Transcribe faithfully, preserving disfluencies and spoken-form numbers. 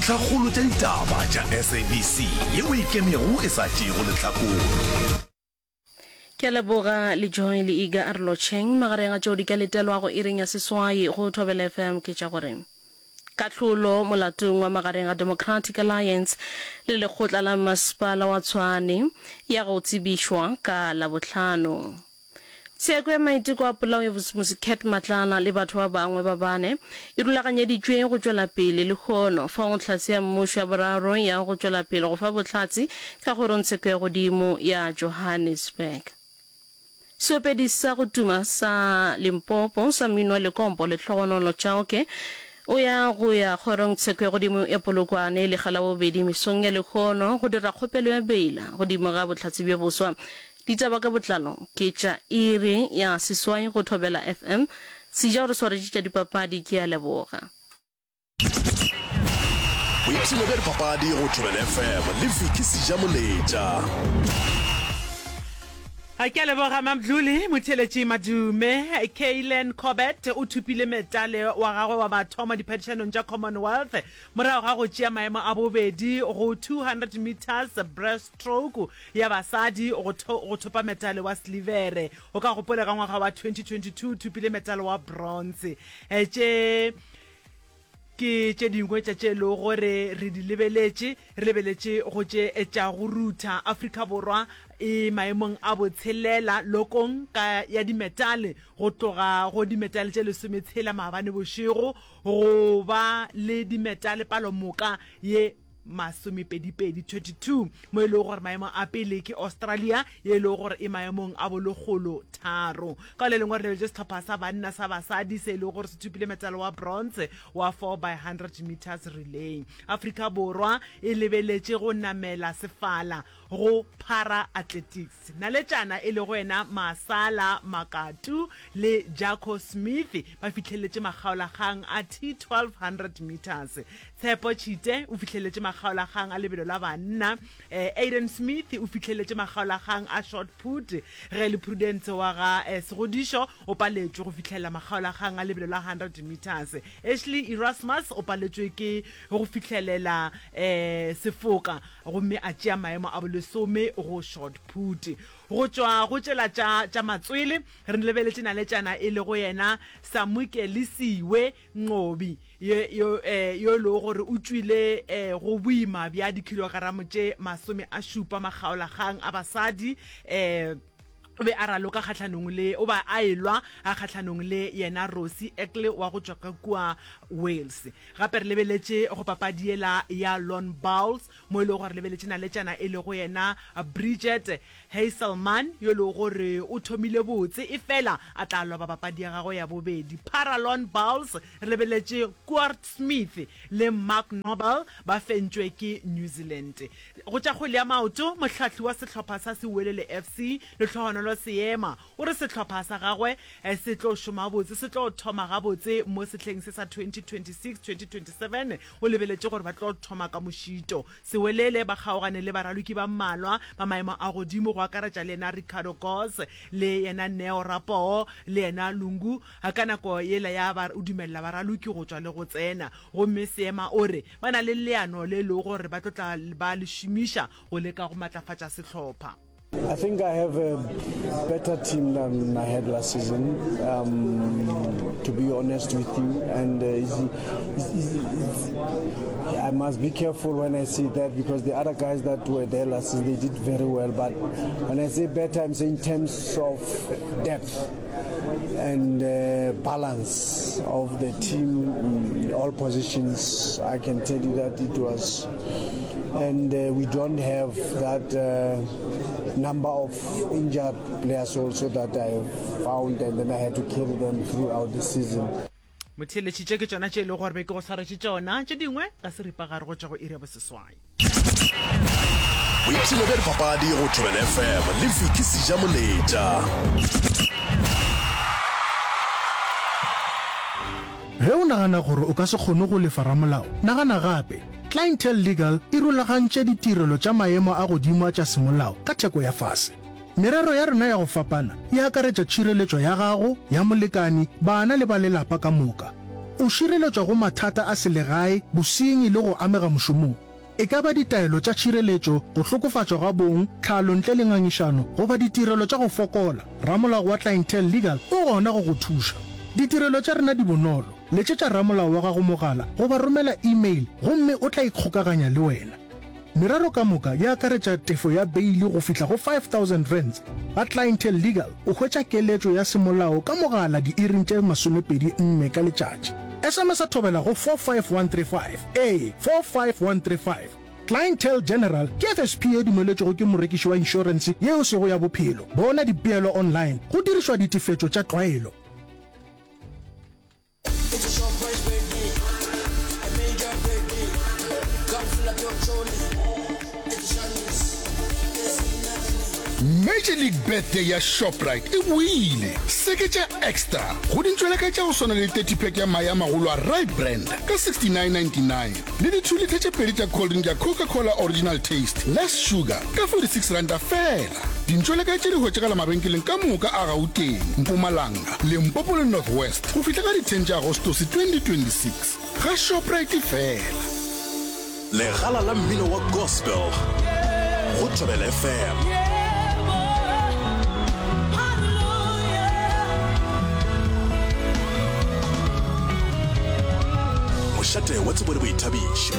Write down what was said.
Dintlhakgolo tša ditaba tša SABC yeo e ikemego e sa tšeego lehlakore. Ke a leboga le Joy le Iga a re lotšheng. Magareng a tšeo di ka letelwago iring ya seswai go Thobela FM ke tša gore kahlolo molatong wa magareng ga Democratic Alliance le lekgotla la mmasepala wa Tshwane ya go tsebišwa ka Labohlano. Tsheko ya maiteko a polao ya Vusimuzi Cat Matlala le batho ba bangwe ba bane e rulaganyeditšwe go tšwela pele lehono fao hlatse ya mmušo ya boraro ya go tšwela pele go fa bohlatse ka kgorongtsheko ya godimo ya Johannesburg. Seopedi sa go tuma sa Limpopo sa mmino wa lekompo Lehlogonolo Chauke o ya go ya kgorongtsheko ya godimo ya Polokwane lekga la bobedi mesong ya lehono go dira kgopelo ya beila godimo ga bohlatse bjo boswa. Ditaba ka botlalo ke tša iri ya seswai go Thobela FM. Seja o re swaretše tša dipapadi, ke a leboga. Boipshino bja dipapadi go Thobela FM le Vicky Seja Moletša. Ke a leboga Mamdluli. Motheeletši Madume, Kaylen Corbett o thopile metale wa gagwe wa mathomo diphadišanong tša Commonwealth morago ga go tšea maemo a bobedi go two hundred metres breaststroke ya basadi go go thopa metale wa silivere. O ka gopola ka ngwaga wa twenty twenty two o thopile metale wa bronze. Tše ke tše dingwe tša tše e lego gore re di lebeletše, re lebeletše go tše tša go rutha. Afrika Borwa e maemong a botshelela lokong ka ya dimetale go tloga go dimetale tše lesometshela maabane bošego go ba le dimetale palomoka ye masomepedipedi, twenty two, mo e lego gore maemo a pele ke Australia ye e lego gore e maemong a bolekgolo tharo. Ka le lengwe re lebeletše sehlopha sa banna sa basadi se e lego gore se thopile metale wa bronze wa four by hundred metres relay. Afrika Borwa e lebeletše go namela sefala go para athletics. Naletšana e lego yena Masala Makatu le Jaco Smith ba fihleletše makgaolakgang a T twelve hundred metres. Tshepo Tshite o fihleletše makgaolakgang a lebelo la banna. Aiden Smith o fihleletše makgaolakgang a shot put ge le Prudence wa ga Segodišo o paletšwe go fihlelela makgaolakgang a lebelo la hundred metres. Ashley Erasmus o paletšwe ke go fihlelela sefoka gomme a tšea maemo a bolesome go shot put. Go tšwa go tšela tša tša matswele, re lebeletše naletšana e lego yena Samukelisiwe Nqobi, ye, yo, eh, yo e lego gore o tšwile eh, go boima bja dikhilogramo tše masome a šupa makgaolakgang a basadi, eh, o be a raloka kgahlanong le, o ba a elwa kgahlanong le yena Rosie Eckle wa go tšwa ka kua Wales. Gape re lebeletše go papadi yela ya lawn bowls mo e lego gore re lebeletše naletšana e lego yena Bridget Hazelman yo e lego gore o thomile botse efela a tla loba papadi ya gagwe ya bobedi. Para lawn bowls re lebeletše Koert Smith le Mark Noble ba fentšwe ke New Zealand. Go tša kgwele ya maoto, mohlahli wa sehlopha sa Sewelele F C Lehlohonolo Seema o re sehlopha sa gagwe se tlo šoma botse, se tlo thoma gabotse mo sehleng se sa twenty twenty six twenty twenty seven O lebeletše gore ba tlo thoma ka mošito. Sewelele ba kgaogane le baraloki ba mmalwa ba maemo a godimo go akaretša le yena Ricardo Goss le yena Neo Rapoo le yena Lungu ka nako yela ya ba o dumelela baraloki go tšwa le go tsena. Gomme Seema o re ba na le leano le e lego gore ba tlo tla ba le šomiša go leka go matlafatša sehlopha. I think I have a better team than I had last season, um, to be honest with you. And uh, it's, it's, it's, I must be careful when I say that because the other guys that were there last season, they did very well. But when I say better, I'm saying in terms of depth and uh, balance of the team in all positions. I can tell you that it was, and uh, we don't have that uh, number of injured players also that I found, and then I had to carry them throughout the season. Motheeletši, tše ke tšona tše e lego gore be ke go swaretše tšona, tše dingwe ka seripagare go tšwa go iri ya boseswai. Boipshino bja dipapadi go Thobela F M le Vicky Sejamoletša. Ge o nagana gore o ka se kgone go lefa ramolao, nagana gape. Clientele Legal e rulagantše ditirelo tša maemo a godimo a tša semolao ka theko ya fase. Merero ya rena ya go fapana e akaretša tšhireletšo ya gago, ya molekani, bana le ba lelapa ka moka. O šireletšwa go mathata a selegae, bosenyi le go amega mošomong. E ka ba ditaelo tša tšhireletšo, go hlokofatšwa ga bong, tlhalo ntle le ngangišano, goba ditirelo tša go fokola, ramolao wa Clientele Legal o gona go go thuša. Ditirelo tša rena di bonolo, letšetša ramolao wa gago mogala goba romela email gomme o tla ikgokaganya le wena. Merero ka moka e akaretša tefo ya beili go fihla go five thousand rands. Ga Clientele Legal o hwetša keletšo ya semolao ka mogala diiring tše masomepedi nne ka letšatši. S M S Thobela go four five one three five, ee, four five one three five. Clientele General ke F S P ye dumeletšwego ke morekiši wa inšorense ye e sego ya bophelo. Bona dipeelo online go dirišwa ditefetšo tša tlwaelo. Major League Birthday ya Shoprite e boile! Seketša extra go dintšweleka tša go swana le thirty pack ya mae a magolo a Rye Brand ka sixty nine ninety nine le di two litre tše pedi tša cold drink ya Coca-Cola Original Taste Less Sugar ka forty six ranta feela. Dintšweleka tše di hwetšagala mabenkeleng ka moka a Gauteng, Mpumalanga, Limpopo le North West go fihla ka di ten tša Agostose twenty twenty six. Ga Shoprite feela. Legala la mmino wa gospel go Thobela F M. Mošate wa tsebo le boithabišo.